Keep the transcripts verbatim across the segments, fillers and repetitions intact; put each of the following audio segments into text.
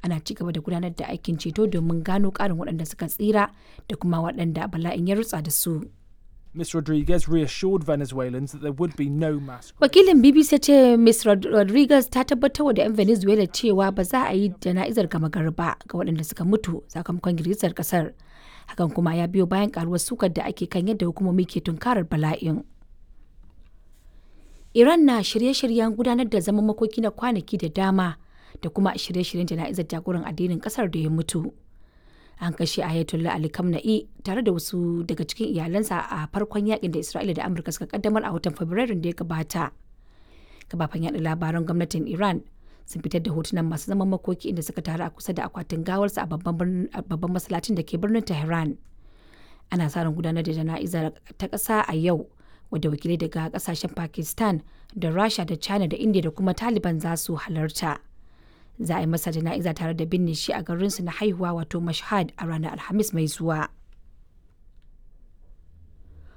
Ana ci gaba da gudanar da aikin ceto domin gano ƙarin waɗanda suka tsira da kuma waɗanda bala'in ya rutsa da su. Miz Rodriguez reassured Venezuelans that there would be no mass Wakilin B B C ya ce Miz Rod- Rodriguez ta tabbatar da 'yan Venezuela cewa ba za a yi jana'izar gama gari ba ga waɗanda suka mutu sakamakon girgizar kasar. Hakan kuma ya biyo bayan karuwar sukar da ake kan yadda hukumomi ke tunkarar bala'in. Iran na shirye-shiryen gudanar da zaman makoki na kwanaki da dama da kuma shirye-shiryen jana'izar jagoran addinin kasar da ya mutu. An kashe Ayatollah Ali Khamenei tare da wasu daga cikin iyalansa a farkon yakin da Isra'ila da Amurka suka kaddamar a watan Fabrairun da ya gabata. Kafafen yaɗa labaran gwamnatin Iran sun fitar da hotunan masu zaman makoki inda suka taru a kusa da akwatin gawarsa a babban birnin- a babban masallacin da ke birnin Tehran. Ana sa ran gudanar da jana'izar ta ƙasa a yau, wadda wakilai daga kasashen Pakistan da Rasha da China da India da kuma Taliban za su halarta. Za a yi masa jana'iza tare da binne shi a garinsu na haihuwa, wato Mashhad, a ranar Alhamis mai zuwa.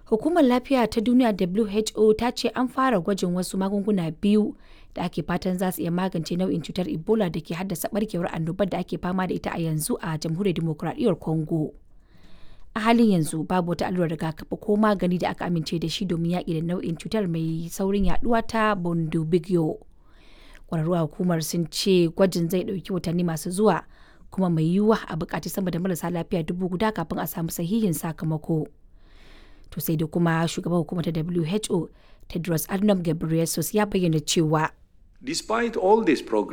Hukumar Lafiya ta Duniya W H O ta ce an fara gwajin wasu magunguna biyu da ake fatan za su iya magance nau'in cutar Ebola da ke haddasa barkewar annobar da ake fama da ita a yanzu a Jamhuriyar Dimokuraɗiyyar Congo. A halin yanzu babu wata allurar rigakafi ko magani da aka amince da shi domin yaƙi da nau'in cutar mai saurin yaduwa ta Bundibugyo. Kwararru a hukumar sun ce gwajin zai ɗauki watanni masu zuwa, kuma mai yiwuwa a buƙaci sama da marasa lafiya dubu guda kafin a samu sahihin sakamako. To sai da kuma shugaban hukumar ta W H O, Tedros Adhanom Ghebreyesus, ya bayyana cewa Despite all this progress,